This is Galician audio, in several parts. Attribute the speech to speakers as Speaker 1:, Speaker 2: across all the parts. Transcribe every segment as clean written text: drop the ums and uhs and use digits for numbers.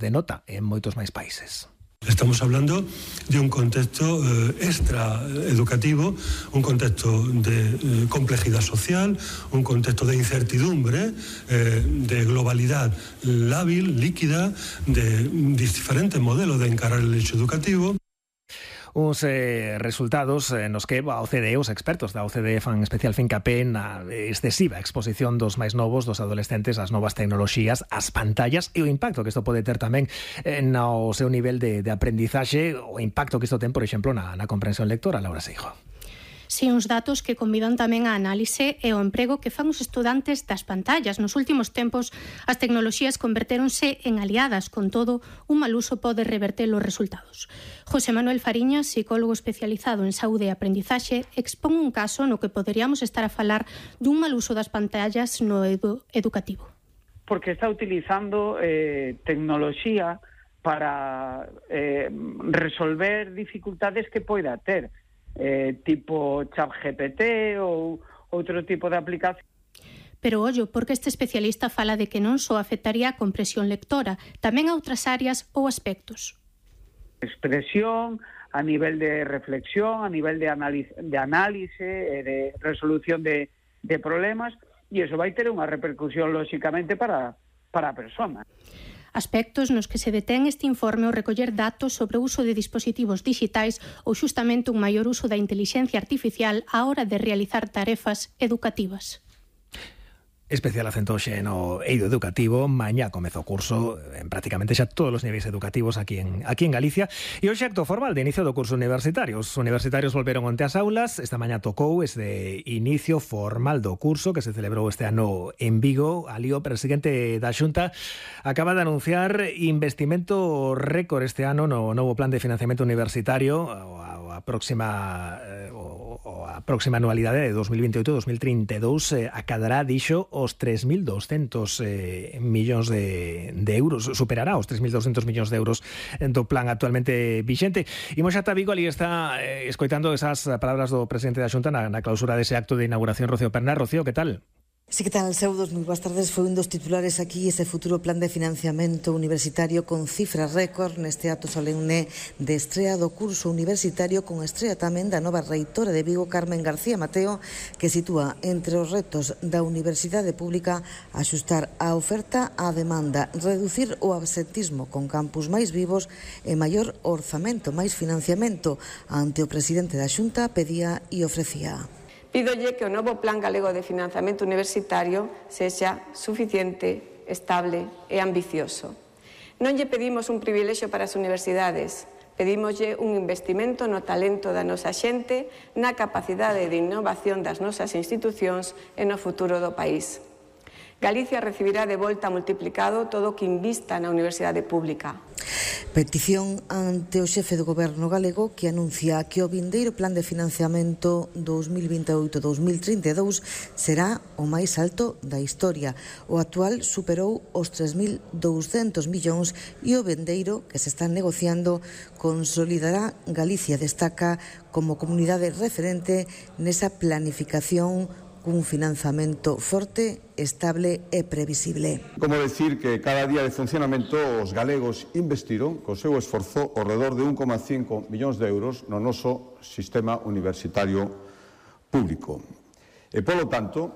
Speaker 1: de nota en moitos máis países.
Speaker 2: Estamos hablando de un contexto extra educativo, un contexto de complejidad social, un contexto de incertidumbre, de globalidad lábil, líquida, de diferentes modelos de encarar el hecho educativo.
Speaker 1: Uns resultados nos que a OCDE, os expertos da OCDE fan especial fincapé na excesiva exposición dos máis novos, dos adolescentes ás novas tecnoloxías, ás pantallas e o impacto que isto pode ter tamén no seu nivel de aprendizaxe, o impacto que isto ten, por exemplo, na comprensión lectora. Laura Seijo.
Speaker 3: Si, uns datos que convidan tamén a análise e o emprego que fan os estudantes das pantallas. Nos últimos tempos, as tecnoloxías convertéronse en aliadas, con todo, un mal uso pode reverter os resultados. José Manuel Fariñas, psicólogo especializado en saúde e aprendizaxe, expón un caso no que poderíamos estar a falar dun mal uso das pantallas no educativo.
Speaker 4: Porque está utilizando tecnoloxía para resolver dificultades que poida ter. Tipo ChatGPT ou outro tipo de aplicación.
Speaker 3: Pero ollo, porque este especialista fala de que non só afectaría a comprensión lectora, tamén a outras áreas ou aspectos.
Speaker 4: Expresión, a nivel de reflexión, a nivel de análise, de resolución de problemas, e iso vai ter unha repercusión, lóxicamente, para a persona.
Speaker 3: Aspectos nos que se detén este informe ao recoller datos sobre o uso de dispositivos digitais ou xustamente un maior uso da intelixencia artificial á hora de realizar tarefas educativas.
Speaker 1: Especial acento xe no eido educativo. Mañá comeza o curso en prácticamente xa todos os niveis educativos aquí en Galicia, e hoxe acto formal de inicio do curso universitario. Os universitarios volveron onte ás aulas. Esta mañá tocou ese inicio formal do curso que se celebrou este ano en Vigo. Ali o presidente da Xunta acaba de anunciar investimento récord este ano no novo plan de financiamento universitario. A próxima anualidade de 2028-2032 acadará, dixo, os 3.200 millóns de euros, superará os 3.200 millóns de euros do plan actualmente vixente. Imos ata Vigo, ali está escoitando esas palabras do presidente da Xunta na clausura dese acto de inauguración. Rocío Perná. Rocío, que tal?
Speaker 5: Sí, que tal, Seudos? Moi boas tardes. Foi un dos titulares aquí ese futuro plan de financiamento universitario con cifras récord neste acto solemne de estrea do curso universitario, con estrea tamén da nova reitora de Vigo, Carmen García Mateo, que sitúa entre os retos da universidade pública axustar a oferta á demanda, reducir o absentismo con campus máis vivos e maior orzamento, máis financiamento. Ante o presidente da Xunta pedía e ofrecía.
Speaker 6: Pídolle que o novo Plan Galego de Financiamento Universitario sexa suficiente, estable e ambicioso. Non lle pedimos un privilexio para as universidades, pedímoslle un investimento no talento da nosa xente, na capacidade de innovación das nosas institucións e no futuro do país. Galicia recibirá de volta multiplicado todo o que invista na universidade pública.
Speaker 5: Petición ante o xefe do goberno galego, que anuncia que o vindeiro plan de financiamento 2028-2032 será o máis alto da historia. O actual superou os 3.200 millóns e o vindeiro que se está negociando consolidará. Galicia destaca como comunidade referente nesa planificación cun financiamento forte, estable e previsible.
Speaker 7: Como decir que cada día de funcionamento os galegos investiron co seu esforzo ao redor de 1,5 millóns de euros no noso sistema universitario público. E, polo tanto,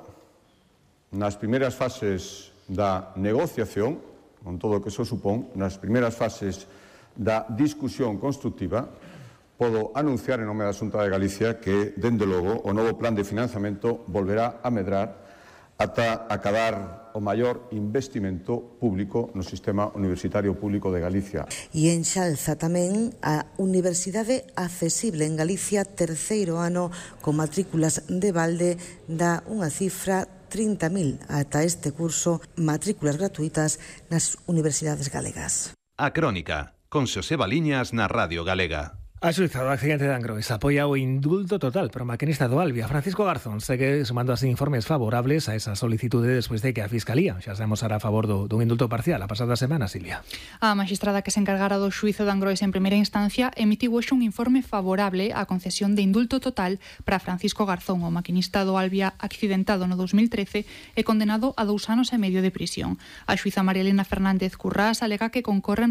Speaker 7: nas primeiras fases da negociación, con todo o que se supón, nas primeiras fases da discusión constructiva, podo anunciar en nome da Xunta de Galicia que, dende logo, o novo plan de financiamento volverá a medrar ata acadar o maior investimento público no sistema universitario público de Galicia.
Speaker 5: E enxalza tamén a Universidade Accesible en Galicia, terceiro ano con matrículas de balde, dá unha cifra 30.000 ata este curso, matrículas gratuitas nas universidades galegas.
Speaker 8: A Crónica, con Xosé Baliñas na Radio Galega.
Speaker 1: A xuíza do accidente de Angrois apoia o indulto total para o maquinista do Albia. Francisco Garzón segue sumando así informes favorables a esa solicitude despois de que a Fiscalía xa se amosara a favor dun indulto parcial a pasada semana, Silvia.
Speaker 8: A magistrada que se encargara do xuízo de Angrois en primeira instancia emitiu hoxe un informe favorable á concesión de indulto total para Francisco Garzón, o maquinista do Albia accidentado no 2013 e condenado a 2 anos e medio de prisión. A xuíza María Elena Fernández Currás alega que concorren